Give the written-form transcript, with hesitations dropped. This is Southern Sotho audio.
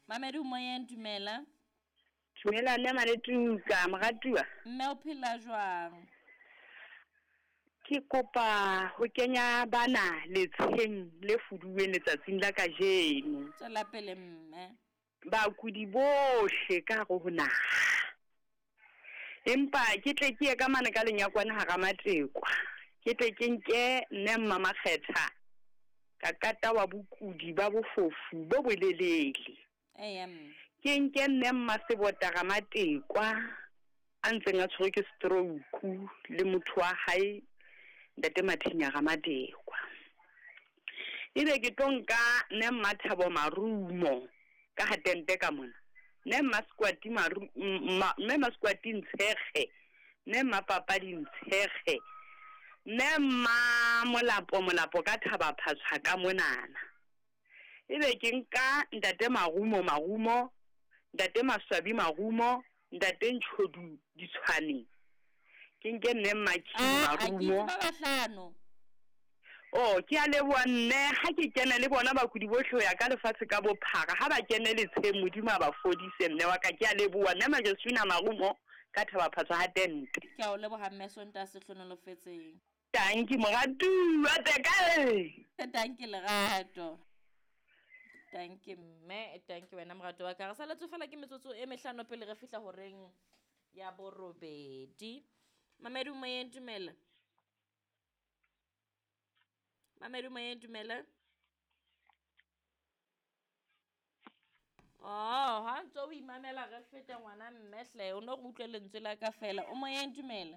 Mamedi o moyeng, dumela. Dumela mme Maletuka, moratuwa. Mme o phela jwang? Ke kopa ho kenya bana letsheng le fuduweng letsatsing la kajeno. Tswela pele mme. Bakudi bohle ka hare ho naha. Empa ke tle ke ye ka mane ka lenyakwane hara Matekwa. Ke tle ke nke mme Mmamakgetha ka kata wa bokudi ba bofofu bo bolelele. Eya mme. Ke nke mme Mmasebota Ramatekwa a ntseng a tshwerwe ke stroke le motho wa hae ntate Mathinya Ramatekwa. Ebe ke tlo nka mme Mmathabo Marumo ka ha tente ka mona. Mme Mmaskwati Maru mme Mmaskwati Ntshekge, mme Mmapapadi Ntshekge, mme Mma Molapo Molapo ka Thaba Phatshwa ka monana. Ebe ke nka ntate Marumo Marumo, ntate Maswabi Marumo, ntate Ntshodu Ditshwane. Ke nke mme Mmakhidi Ah, a ke itse Marumo. ba bahlano. Oh, ke a leboha mme ha ke kene le bona bakudi bohle ho ya ka lefatshe ka bophara ha ba kene letsheng Modimo a ba fodise mme wa ka ke a leboha mme Majesina Marumo ka Thaba Phatshwa ha tente. Ke a o leboha mme Sontaha se hlonolofetseng. Tanki moratuwa teka. Tanki lerato. Tanki mme, tanki wena morato wa ka. Re saletswe fela ke metsotso e mehlano pele re fihla horeng ya borobedi. Mamedi o moyeng, dumela. Mamedi o moyeng, dumela. Oh, ha ntse o imamela re feta ngwana mme hle, o no re utlwe lentswe la ka fela. O moyeng, dumela.